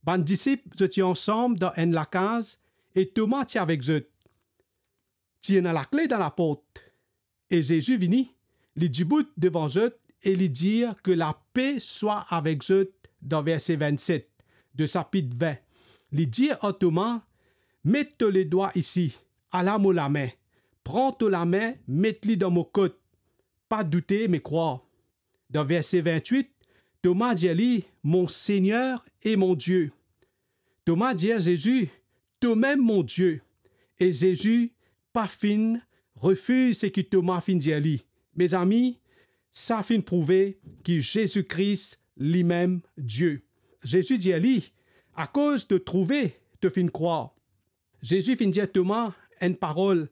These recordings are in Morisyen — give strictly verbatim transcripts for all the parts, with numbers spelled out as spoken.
Bann disip, zot ti ansam dan enn lakaz e Toma ti avek zot. Ti ena lakle dan laport. E Zezi vini, li dibout devan zot e li dir, "Ke lape swa avek zot," dan verse vennset de sapit vin. Li dir ar Toma, "Met to ledwa isi, ala mo lame. Pran to lame, met li dan mo kot. Pa doute, me krwar." Dan verse vintwit, Toma dir li, "Mon Segner e mon Die." Toma dir Zezi, "Tomem mon Die." E Zezi pa finn refiz seki Toma finn dir li. Mezami, sa finn prouve ki Zezi Kris limem Die. Zezi dir li, "Akoz to trouve, to finn krwar." Zezi finn dir Toma enn parol,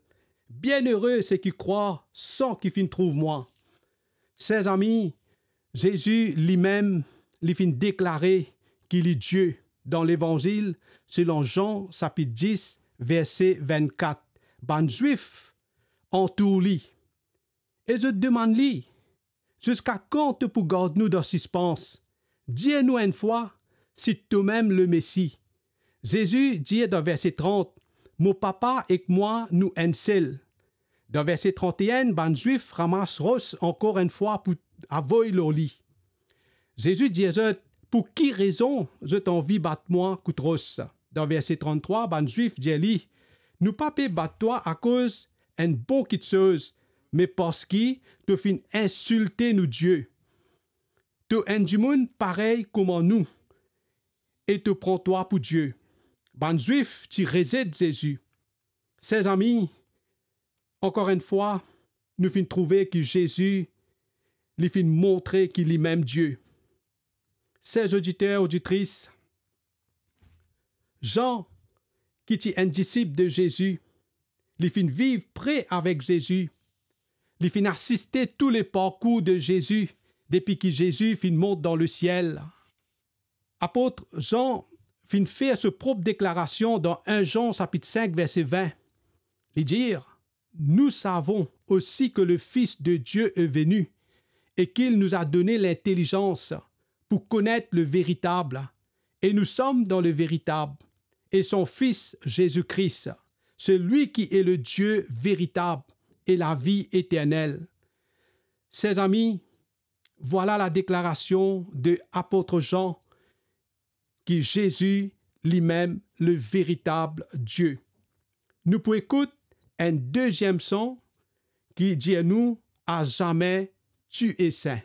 "Bienere seki krwar san ki finn trouv mwa." Ser zami, Zezi limem, li finn deklare ki li Die dan Levanzil selon Zan sapit dis, verse vennkat. Bann Zwif antour li e zot demann li, "Ziska kan to pou gard nou dan sispans? Dir nou enn fwa si tomem Lemesi." Zezi dir dan verse trant, "Mo Papa ek mwa nou enn sel." Dan verse trant-e-enn, bann Zwif ramas ros ankor enn fwa pou avoy lor li. Zezi dir zot, "Pou ki rezon zot anvi bat mwa kout ros?" Dan verse trant-trwa, bann Zwif dir li, "Nou pa pe bat twa akoz enn bon kiksoz, me parski to finn insilte nou Die. To enn dimoun parey kouma nou, e to pran twa pou Die." Bann Zwif ti rezet Zezi. Ser zami, ankor enn fwa, nou finn trouve ki Zezi, li finn montre ki limem Die. Ser oditer, oditris, Zan, ki ti enn disip de Zezi, li finn viv pre avek Zezi. Li finn asiste tou le parkour de Zezi depi ki Zezi finn mont dan lesiel. Apot Zan finn fer so prop deklarasion dan enn Zan sapit sink, verse vin. Li dir, "Nous savons aussi que le Fils de Dieu est venu et qu'il nous a donné l'intelligence pour connaître le véritable, et nous sommes dans le véritable, et son Fils Jésus-Christ, celui qui est le Dieu véritable et la vie éternelle." Ser zami, vwala la deklarasion de apot Zan ki Zezi limem le veritab Die. Nou pou ekout enn deziem son ki dir nou, "À jamais tu es saint."